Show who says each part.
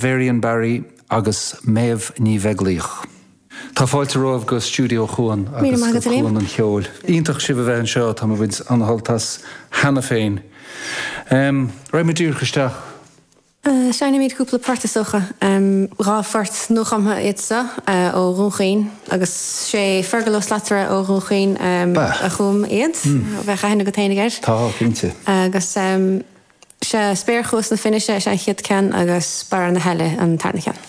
Speaker 1: Varian Barry agus Méabh Ní Bheaglaoich. Tá fáilte romhaibh go Stiúideo Chuan agus go Cuan an Cheoil. Iontach sibh a bheith anseo, tá mé ag baint an-shult as cheana féin. Raghaidh muid díreach isteach.
Speaker 2: Seinnfimid cúpla port is dócha. 2 phort nuachumtha iad seo ó Dhún Chaoin agus sé Fergal Ó Slatara ó Dhún Chaoin a chum iad. Bheadh aithne agat fhéinig air.
Speaker 1: Tá, cinnte.
Speaker 2: Agus sé Spéirchuas na Finnise is ea an chéad ceann agus Barra na hAille an tarna ceann.